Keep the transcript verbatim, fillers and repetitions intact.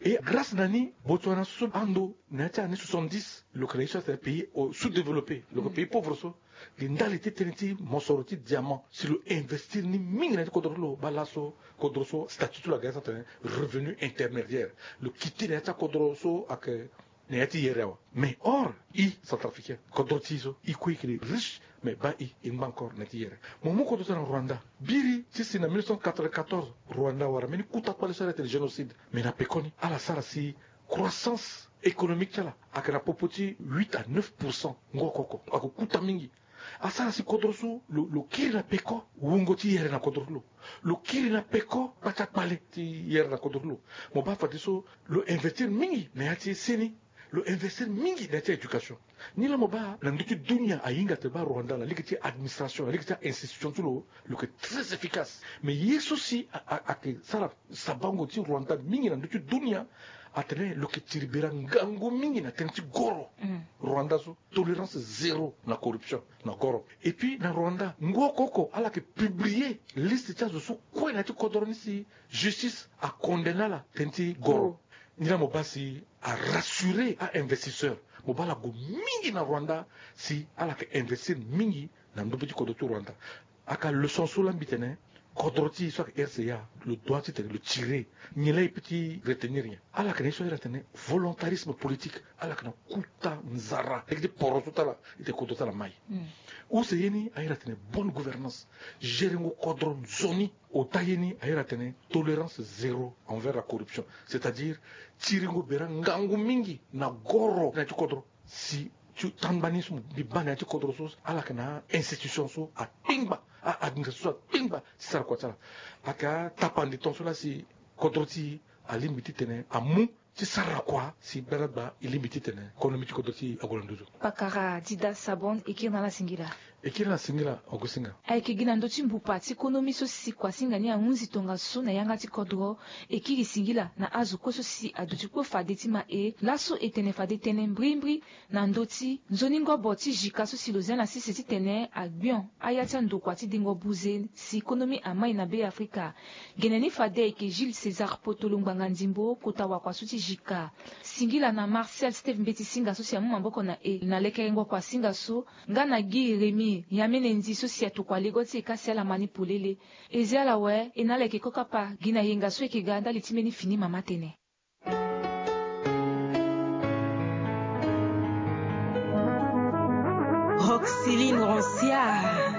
Et grâce na ni, Botswana so ando na ya ti année soixante-dix, lo yeke na ye so atene pays sous-développé, lo yeke pays pauvre so. Gi ndali ti tënë ti mosoro ti diamant si lo investir ni mingi na ya ti kodro ti lo. Baa laso kodro so statut ti lo aga ya so atene revenu intermédiaire. Lo kiti na ya ti akodro so ayeke na ya ti yere awe. Mais or i centrafricain, kodro ti i so i kue i yeke riche, mais baa i i ngba encore na ya ti yere. Mo mu kodro so na Rwanda. Biri ti si na mille neuf cent quatre-vingt-quatorze, Rwanda awara mbeni kuta kpale so ala tene génocide. Mais na pekoni ala sara si croissance économique ti ala ayeke na popo ti huit à neuf pour cent. Ngoko oko ayeke kuta mingi. Asara si kodro so lo, lo kiri na peko wungo ti yere na kodro ti lo. Lo kiri na peko kpata kpale ti yere na kodro ti lo. Mo baa fadeso lo investir mingi na ya ti seni. Lo investir mingi na ya ti éducation. Ni laa mo baa na ndö ti dunia ahinga atene baa Rwanda na lege ti administration, na lege ti a-institution ti lo, lo yeke très efficace. Mais ye so si a, a, ayeke sara sabango ti Rwanda mingi na ndö ti dunia, atene lo yeke tiri bera ngangu mingi na tënë ti goro. Rwanda so tolérance zéro na corruption na goro. Et puis na Rwanda, ngu oko oko ala yeke publier liste ti azo so kue na ya ti kodro ni si justice acondamné ala tënë ti goro. Ni laa mo baa si arassurer a-investisseur. Mo baa ala gue mingi na Rwanda si ala yeke investir mingi na ndö be ti kodro ti Rwanda. Aka leçon so laa mbi tene, kodro ti e so ayeke R C A, lo doit ti tene lo tirer. Nyen laa e peut ti retenir nyen? Ala yeke na ye so airi atene volontarisme politique. Ala yeke na kuta nzara lege ti poro so ti ala, e tene kodro ti ala mai. Use ye ni airi atene bonne gouvernance, gérengo kodro nzoni. Ota ye ni airi atene tolérance zéro envers la corruption, c'est-à-dire tiringo bera ngangu mingi na goro na ya ti kodro. Si ti tangba ni so mbi baa na ya ti kodro so, ala yeke na a-institution so akpengba, a-administration so akpengba ti sara kua ti ala. Ayeke atapande ton so laa si kodro ti e alingbi ti tene amu ti sara kua si gbadagba e lingbi ti tene konomi ti kodro ti e ague na nduzu. Pakara Dida Sabon, e kiri na ala singila. E kiri na ala singila, Augustin Nga. Ayeke gi na ndö ti mbupa ti konomi so si kuasinga ni ahunzi tongaso na yanga ti kodro, e kiri singila na azo kue so si aduti kue fade ti ma e laso e tene fade tënë mbrimbri na ndö ti nzoni ngobo ti jika so si lo zia na sese titene agbion aya ti andokua ti dengo buze si konomi amai na Be Afrika. Gene ni fade ayeke Jules César Potolo ngbanga ndimbo kota wakua so ti jika. Singila na Marcel Steve Mbeti Singa so si amu maboko na e na lekerengo kuasinga so, nga na Guy Rémy Yamene Ndi so si atokua lego ti e ka si ala ma ni polele. E zi ala awe, e na ala yeke kue kapa gi na yenga so e yeke ga ndali ti mbeni fini mama tënë. Roxyline Rancière.